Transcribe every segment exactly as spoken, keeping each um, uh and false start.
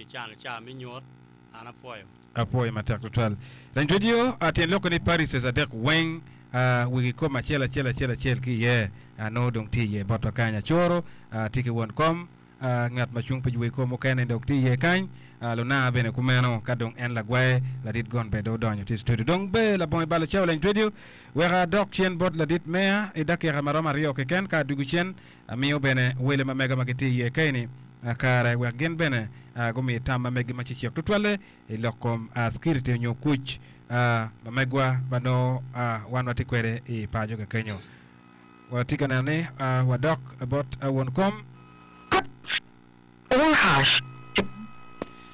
T V Channel ca mi nyut an apwoyo. Apwoyo matek tutwal. Lany radio tyen loko ni parishes adek weng wigi kom acel acel acel acel ki iye nongo dong tye iye botwa kany. Acoro tye ki won kom, ngat ma cung pi wigi kom mukene dok tye iye kany, Lunanga bene kumeno ka dong en lagwaye ladit gon bene dong odonyo tye i studio. Dong ber labongo ibalo cawa lany radio wek adok cen bot ladit meya i dakika maromo aryo keken ka adugu cen amiyo bene wele ma mega ma gitye iye kaeni kare wek gin bene gumi tam ma megi ma cecek tutwalle i lok kom security onyo kuc ma megwa ma nongo wan watye kwede i paco kakenyo. Watye ka neno ni wadok bot won kom.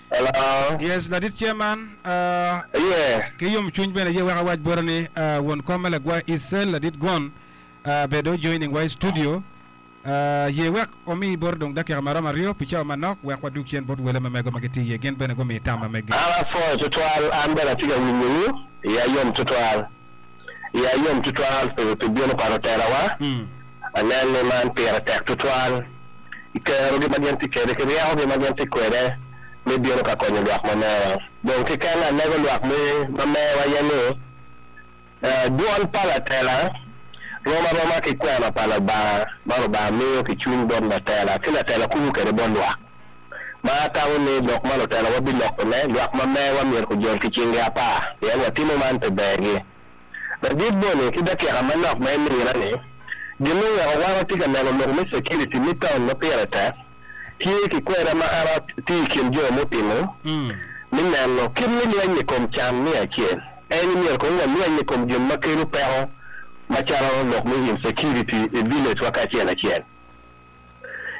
Hello. Yes, ladit chairman, uh, Yeah. ki yomcwiny bene ye wek awac bota ni uh, won kom me lagwa Isel ladit gon uh, bene joining wa i studio uh, ye wek omi bota dong dakika maromo aryo pi cawa manok wek wadug cen bot wele ma mego ma gitye iye gin bene gumi tam ma megi. An apwoyo tutwal, an bene atye ka winyowu, iya yom tutwal. Iya yom tutwal pi pi bino pa lutelawa. Mm. Anen ni man pire tek tutwal. I kerogi ma gin tye kwede, ki ryekogi ma gin tye kwede me bino ka konyo lwak ma mewa. Dong keken alego lwak me ma mewa aye ni eh, dwol pa latela rom aroma ki kwena pa Lubanga ma Lubanga miyo ki cwiny bot latela ki latela kubo kwede bot lwak. Ma atamo ni lok ma lutela wabilokone, lwak ma mewa myero kujol ki cingi apar, pien watimo man pi bergi. Ladit boni ki dakika manok ma imina ni, gin oweko wan watye ka neno lok me security me town ma pire tek, tye ki kweda ma an atye i kin jo mutimo Mm. mi neno kit mi lweny i kom can mi acel. En myero kong walweny i kom gin ma kelo peko macalo lok me insecurity i village wa kacel acel.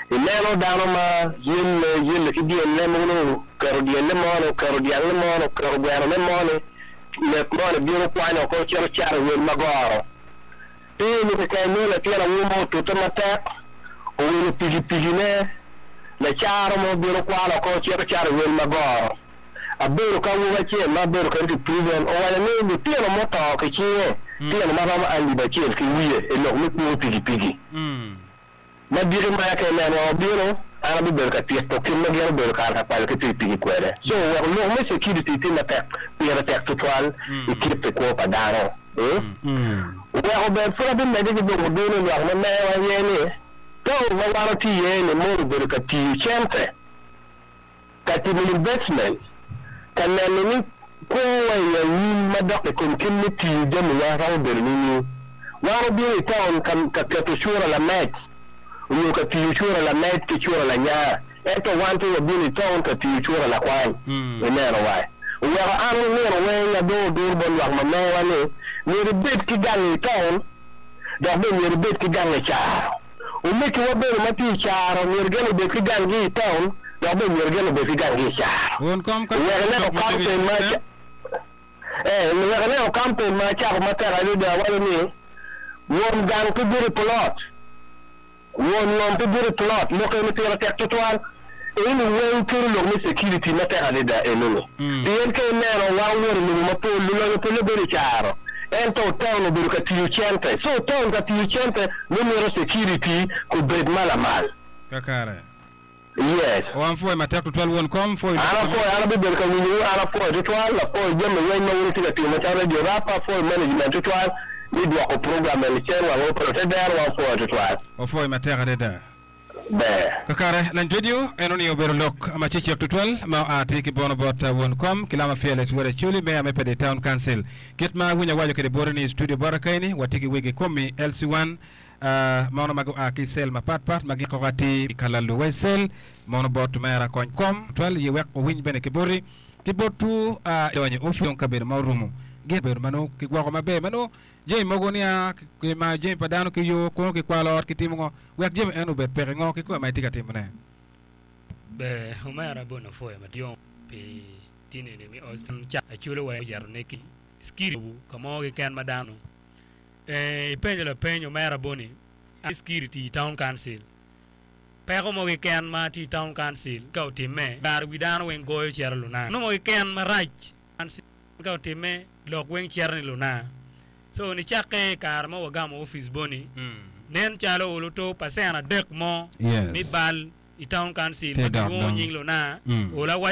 Ineno dano ma yelle yelle ki dyelle mogo nongo oketo dyelle moni, oketo dyangne moni, oketo gwenone moni, nek moni bino kwanyo oko cito cato i wel magoro. Pe ni keken nongo latin awobi mo otute matek, owilo pikipikine, lacaro mo bino kwalo oko cito cato i wel magoro. Abedo ka awobi acel ma abedo kwede i prison owaco ni lutino muto ki cinge, tino maromo alip acel ki wiye i lok me kwo pikipiki. Mm. Ma diki maya ka ineno obino, an abibedo ka tito kit ma gin obedo kare ka kwalo ki pikipiki kwede. So wek lok me security tye matek, pire tek tutwal i kit i kwo pa dano. Mm? Mm. Weko ber pud abimedde ki dong oduno lwak ma mewa aye ni town ma wan watye iye ni mono obedo ka tiyo cente, ka timo investment, ka neno ni kwowa i anyim madok i kom kit me tiyo jamiwa romo bedo nining. Wan obino i town ka, ka keto cura lamed, onyo ka tiyo cura lamed ki cura lanya, ento wan pe wabino i town ka tiyo cura lakwany. Mm. Ineno wa. Oweko an nino weng adong odur bot lwak ma mewa ni myero ibed ki gang i town, dok bene myero ibed ki gang i caro. Omekiwa bene ma tye i caro myero gin obed ki ganggi i town, dok bene myero gin obed ki ganggi i caro. Won kom ka Wek ineno lok ma campaign ma tye eh, wek ineno campaign ma acako matek adada awaco ni won gang pe bedo i plot, won ngom pe bedo i plot, lok eni pire tek tutwal. Eni weng kelo lok me security matek adada enoni. Mm. Pien ka ineno wan wot i lobo mapol, lulonyo pole bedo i caro, ento town obedo ka tiyo cente. So town ka tiyo cente, nongo mito security kubed malamal. Kakare. Yes. Wan pwoyo matek tutwal won kom pwoyo An lok ma apwoyo, an abibedo ka winyowu, an apwoyo tutwal, apwoyo jami weng ma wun itye ka timo macalo Radio Rapa, apwoyo management tutwal, mi dwoko program eni cen wang opero te dero wan pwoyo tutwal. Opwoyo matek adada. Ber. Kakare, lany radio eno ni obedo lok ma cecek tutwal ma oa tye ki bono bot won kom ki lama Fearless Wod Acholi meya me Pede Town Council. Kit ma winyo awaco kede bote ni i studio bota kaeni watye ki wegi komi L C one uh, mono ma gua ki cell mapat pat ma gikoko atir i kalalu wa i cell mono bot mera kony kom twal ye wek owiny bene ki boti ki botwu uh, donyo ofi dong kabedo ma orumo gin bedo ma nongo kigwoko maber ma nongo jami mogo nia kimayo jami pa dano ki yo kono kikwalo ot kitimo ngo wek jami en obed peke ngo kikome ma itye ka timone. Ber omera bono apwoyo madwong pi tinini mi Austin ca aculo wa oyeto ne ki security ka mo keken ma dano eh ipenjo lapeny omera boni security i town council peko mo keken ma tye i town council ka otimme kare wi dano weng goyo cito luna no mo keken marac ka otimme lok weng cito ni luna so nicakke i kare ma wagamo office boni nen calo oluto percent adek mo Yes. mi bal i town council Te ma dok kilwongo dong. nying luna Mm. olo awaco